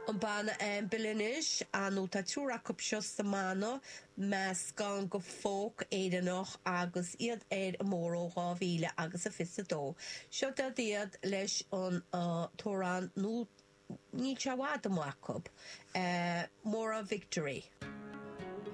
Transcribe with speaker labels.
Speaker 1: An banna Anvil anois, nó tá triúr acu seo sa mbanna, meascán de folk Éireannach agus iad ar an mbóthar ó 2000 agus a 22. Seo iad leis an t-amhrán nó níl sé i bhfad amuigh acu, Maura Victory.